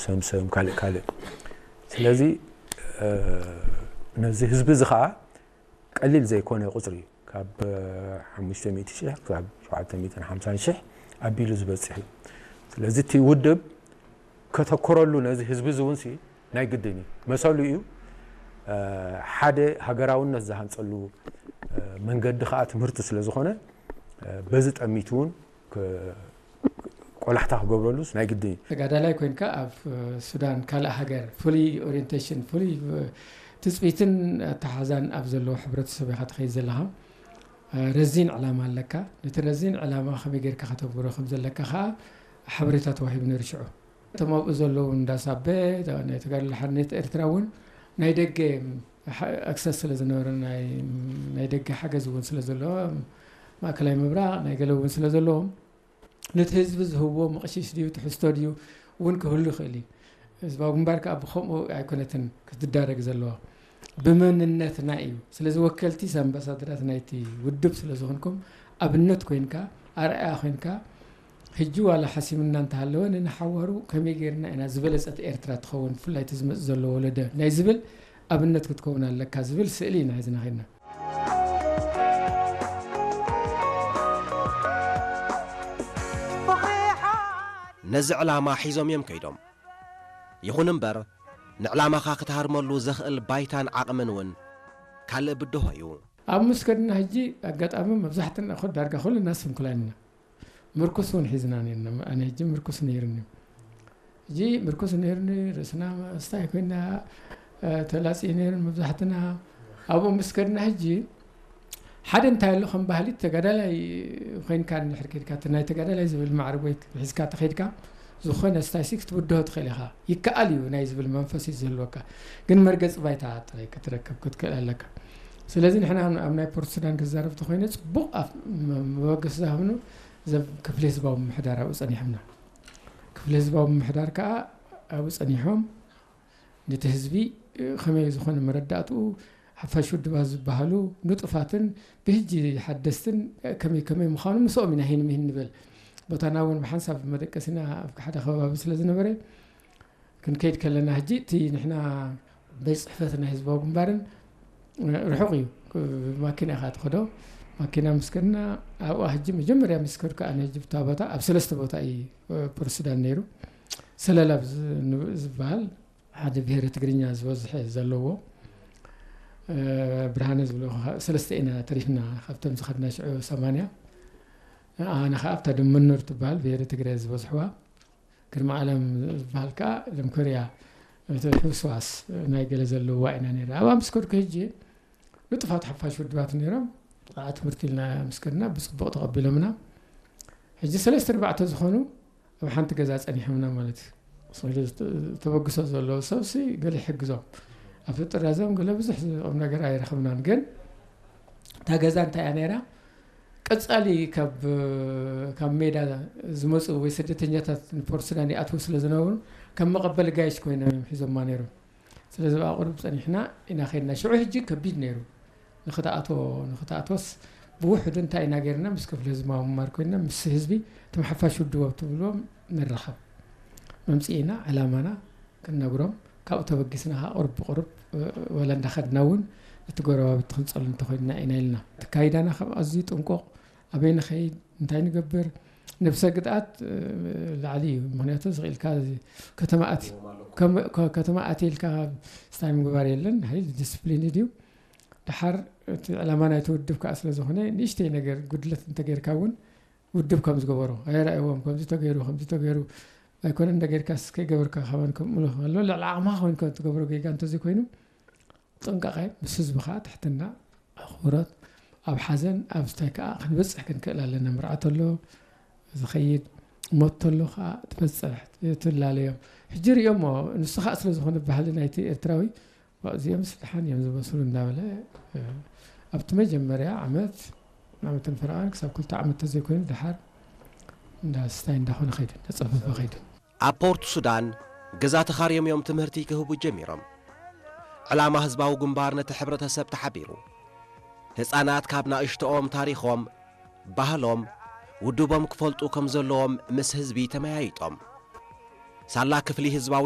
ሰምሰም፣ ካልእ ካልእ። ስለዚ ነዚ ህዝቢ እዚ ከዓ ቀሊል ዘይኮነ ቁፅሪ እዩ። ካብ ሓሙሽተ ሚእቲ ሺሕ ክሳብ ሸውዓተ ሚእትን ሓምሳን ሺሕ ኣቢሉ ዝበፅሕ እዩ። ስለዚ እቲ ውድብ ከተኩረሉ ነዚ ህዝቢ እዚ እውን ሲ ናይ ግድን እዩ። መሰሉ እዩ። ሓደ ሃገራውነት ዝሃንፀሉ መንገዲ ከዓ ትምህርቲ ስለ ዝኾነ በዚ ጠሚቱ እውን ቆላሕታ ክገብረሉስ ናይ ግድን እዩ። ተጋዳላይ ኮይንካ ኣብ ሱዳን ካልእ ሃገር ፍሉይ ኦሪንቴሽን ፍሉይ ትፅቢትን ኣተሓዛን ኣብ ዘለዎ ሕብረተሰብ ኢኻ ትኸይድ ዘለኻ። ረዚን ዕላማ ኣለካ። ነቲ ረዚን ዕላማ ከመይ ጌርካ ከተግብሮ ከም ዘለካ ከዓ ሓበሬታ ተዋሂቡ ነይሩ ሽዑ። እቶም ኣብኡ ዘለዉ እንዳ ሳበ ናይ ተጋድሎ ሓርነት ኤርትራ እውን ናይ ደገ ኣክሰስ ስለ ዝነበረ ናይ ደገ ሓገዝ እውን ስለ ዘለዎ ማእከላይ ምብራቕ ናይ ገለ እውን ስለ ዘለዎም ነቲ ህዝቢ ዝህብዎ መቕሽሽ ድዩ ትሕዝቶ ድዩ እውን ክህሉ ይኽእል እዩ። ህዝባዊ ግንባር ከዓ ብከምኡ ኣይኮነትን ክትዳረግ ዘለዋ ብመንነትና እዩ። ስለዚ ወከልቲ ኣምባሳደራት ናይቲ ውድብ ስለ ዝኾንኩም ኣብነት ኮይንካ ኣርኣያ ኮይንካ ሕጂ ዋላ ሓሲምና እንተሃለወ ንንሓዋሩ ከመይ ጌርና ኢና ዝበለጸት ኤርትራ ትኸውን ብፍላይ እቲ ዝመጽእ ዘሎ ወለደ ናይ ዝብል ኣብነት ክትከውን ኣለካ ዝብል ስእሊ ኢና ሒዝና ኸድና። ነዚ ዕላማ ሒዞም እዮም ከይዶም። ይኹን እምበር ንዕላማኻ ክትሃርመሉ ዘኽእል ባይታን ዓቕምን እውን ካልእ ብድሆ እዩ። ኣብ ምስ ከድና ሕጂ ኣጋጣሚ መብዛሕትና ኮ ዳርጋ ኩልና ስንኩላን ኢና። ምርኩስ እውን ሒዝና ነርና። ኣነ ሕጂ ምርኩስ ነይርኒ። ሕጂ ምርኩስ ነይርኒ ርእስና ስታይ ኮይና ተላፂ ነይርን መብዛሕትና ኣብኡ ምስ ከድና ሕጂ ሓደ እንታይ ኣሎ ከም ባህሊ ተጋዳላይ ኮይንካ እንድሕር ከድካ እቲ ናይ ተጋዳላይ ዝብል ማዕርግ ወይ ሒዝካ ተኸድካ ዝኾነ ስታይሲክ ክትብድሆ ትኽእል ኢኻ። ይከኣል እዩ ናይ ዝብል መንፈስ እዩ ዝህልወካ። ግን መርገፂ ባይታ ጥራይ ክትረከብ ክትክእል ኣለካ። ስለዚ ንሕና ኣብ ናይ ፖርት ሱዳን ክዛረብ ተኮይነ ፅቡቕ መበገሲ ዝሃብኑ ዘብ ክፍሊ ህዝባዊ ምምሕዳር ኣብኡ ጸኒሖምና። ክፍሊ ህዝባዊ ምምሕዳር ከኣ ኣብኡ ጸኒሖም ነቲ ህዝቢ ከመይ ዝኾነ መረዳእትኡ ሓፋሽ ውድባት ዝበሃሉ ንጡፋትን ብህጂ ሓደስትን ከመይ ከመይ ምዃኑ ምስኦም ኢና ሂን ምሂን ንብል። ቦታና እውን ብሓንሳብ መደቀሲና ኣብ ሓደ ከባቢ ስለ ዝነበረ ክንከይድ ከለና ሕጂ እቲ ንሕና ቤት ፅሕፈት ናይ ህዝባዊ ግንባርን ርሑቕ እዩ። ማኪና ኢኻ ትኸዶ። ማኪና ምስ ከድና ኣብኣ ሕጂ መጀመርያ ምስ ከድኩ ኣነ ሕጂ ብታ ቦታ ኣብ ሰለስተ ቦታ እዩ ፕረሲዳንት ነይሩ። ሰለላ ዝበሃል ሓደ ብሄረ ትግርኛ ዝበዝሐ ዘለዎ ብርሃነ ዝብሎ ሰለስተ ኢና ተሪፍና ካብቶም ዝኸድና ሽዑ ሰማንያ ኣነ ከዓ ኣብታ ደመኖር ትበሃል ብሄረ ትግረ ዝበዝሕዋ ግርማ ዓለም ዝበሃል ከዓ ለምኮርያ ሕውስዋስ ናይ ገለ ዘለዋ ኢና ነራ ኣብኣ ምስ ከድኩ ሕጂ ንጡፋት ሓፋሽ ውድባት ነይሮም ዓ ትምህርቲ ኢልና ምስ ከድና ብፅቡቕ ተቐቢሎምና ሕጂ ሰለስተ ኣርባዕተ ዝኾኑ ኣብ ሓንቲ ገዛ ፀኒሖምና ማለት እዩ ተበግሶ ዘለዎ ሰብሲ ገለ ይሕግዞም ኣብቲ ጥራዞም ገለ ብዙሕ ቁም ነገር ኣይረኸብናን ግን እታ ገዛ እንታይ እያ ነይራ ቀፃሊ ካብ ካብ ሜዳ ዝመፁ ወይ ስደተኛታት ንፖርት ሱዳን ይኣትዉ ስለ ዝነበሩ ከም መቐበሊ ጋይሽ ኮይኖም እዮም ሒዞማ ነይሮም ስለዚ ብኣ ቁሩብ ፀኒሕና ኢና ከድና ሽዑ ሕጂ ከቢድ ነይሩ ንክትኣቶ ንክትኣቶስ ብውሕዱ እንታይ ኢና ገይርና ምስ ክፍሊ ህዝባዊ ምማር ኮይንና ምስ ህዝቢ እቶም ሓፋሽ ውድቦ ትብልዎም ንራኸብ መምፅኢና ዕላማና ክንነግሮም ካብኡ ተበጊስና ከዓ ቁሩብ ብቁሩብ ወላ እንዳኸድና እውን እቲ ጎረባብቲ ክንፀሉ እንተኮይንና ኢና ኢልና እቲ ካይዳና ካብ ኣዝዩ ጥንቁቕ ኣበይ ንኸይድ እንታይ ንገብር ነብሰ ግድኣት ላዕሊ እዩ ምክንያቱ ዝኽኢልካ ከተማ ኣትዩ ከተማ ኣትየ ኢልካ ስታይ ምግባር የለን ሓይል ዲስፕሊን ድዩ ድሓር እቲ ዕላማ ናይቲ ውድብ ከዓ ስለ ዝኾነ ንእሽተይ ነገር ጉድለት እንተገይርካ እውን ውድብ ከም ዝገበሮ ኣይረኣይዎም ከምዚ ተገይሩ ከምዚ ተገይሩ ኣይኮነ እንደ ገይርካስ ከይገበርካ ካባን ከምኡ ኣሎ ልዕሊ ዓቕምኻ ኮይንካ ትገብሮ ጌጋ እንተዘይኮይኑ ጥንቃቐ ምስ ህዝቢ ከዓ ትሕትና ኣኽብሮት ኣብ ሓዘን ኣብ ስታይ ከዓ ክንበፅሕ ክንክእል ኣለና መርዓ ተሎ ዝኸይድ ሞት ተሎ ከዓ ትበፅሕ ትላለዮም ሕጂ ሪኦሞ ንሱ ከዓ ስለ ዝኾነ ባህሊ ናይቲ ኤርትራዊ እዚኦም ስልሓን እዮም ዝመስሉ እንዳበለ ኣብቲ መጀመርያ ዓመት ዓመትን ፈረቓን ክሳብ ክልተ ዓመት ተዘይኮይኑ ድሓር እንዳ ስታይ እንዳኾነ ኸይዱ እንዳፀፈፈ ኸይዱ ኣብ ፖርት ሱዳን ገዛ ተኻርዮም እዮም ትምህርቲ ክህቡ ጀሚሮም ዕላማ ህዝባዊ ግንባር ነቲ ሕብረተሰብ ተሓቢሩ ህፃናት ካብ ናእሽቶኦም ታሪኾም ባህሎም ውድቦም ክፈልጡ ከም ዘለዎም ምስ ህዝቢ ተመያይጦም ሳላ ክፍሊ ህዝባዊ